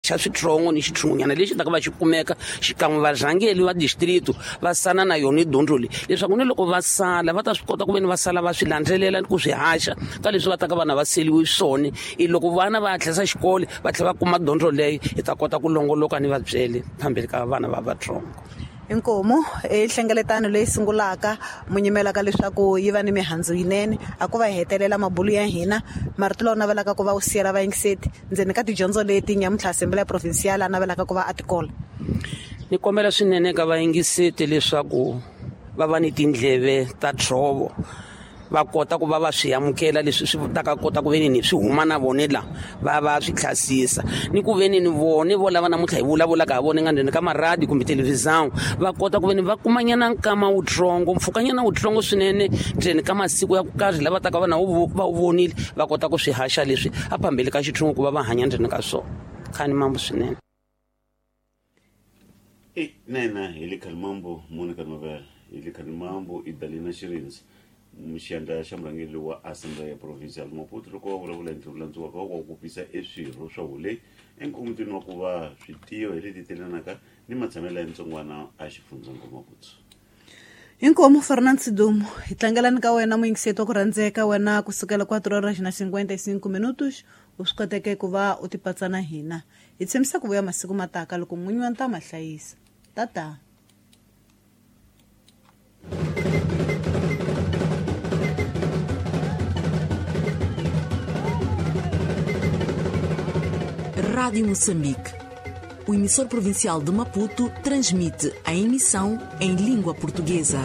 Xa switsongo ni xitshungunyana lexi taka va xi kumeka xikan'we varhangeli va distrito va sana na yona dyondzo leyi, leswaku ni loko va sala va ta swi kota ku ve ni va sala va swi landzelela ni ku swi haxa ka leswi va taka vana va seliwe swona. I loko vana va hatlisa xikolo va tlhela va kuma dyondzo leyi, hi ta kota ku longoloka ni va byele phambili ka vana va vatsongo. Inkomu i nhlengeletano leyi sungulaka mu nyimelaka leswaku yi va ni mihandzu yinene. A ku va hi hetelela mabulu ya hina, marito lawa navelaka ku va u siyela vayingiseti ndzeni ka tidyondzo leti nyamuntlha Assembleia Provincial a navelaka ku va a tikola. Ni kombela swinene ka vayingiseti leswaku va va ni tindleve ta dzovo, va kota ku va va swi amukela leswi swi ta ka kota ku ve ni swi huma na vone la va va swi tlhasisa, ni ku ve ni vone vo lava namuntlha hi vulavulaka ha vone nga ndzeni ka maradi kumbe televhizão, va kota ku ve ni va kumanyana nkama wutsongo, mpfhukanyana wutsongo swinene ndzeni ka masiku ya ku karhi lava taka va na va wu vonile, va kota ku swi haxa leswi a phambili ka xitshungu ku va va hanya ndzeni ka swona. Khani mambo swinene. Nena hi le Khalimambo Monica Novela, hi le Khalimambo i Dalina Xirindzi, xiyandla xa murhangeri wa Assembleia Provincial Maputo, loko va vulavula hi ntirho landziwaka wa ku kopisa eswirho swa hule enkomitini wa ku va switiyo hi leti telanaka ni matshamelo ya ntsongwana a xifundzankulu Maputo. Inkomu Fernand Sidumo, hi tlangelani ka wena muyingiseti wa ku rhandzeka wena kusukela 4:55 minutos u swi koteke ku va u tipatsa na hina. Hi tshembisa ku vuya masiku mataka loko n'winyi wa ntama hlayisa. Tata. Rádio Moçambique. O emissor provincial de Maputo transmite a emissão em língua portuguesa.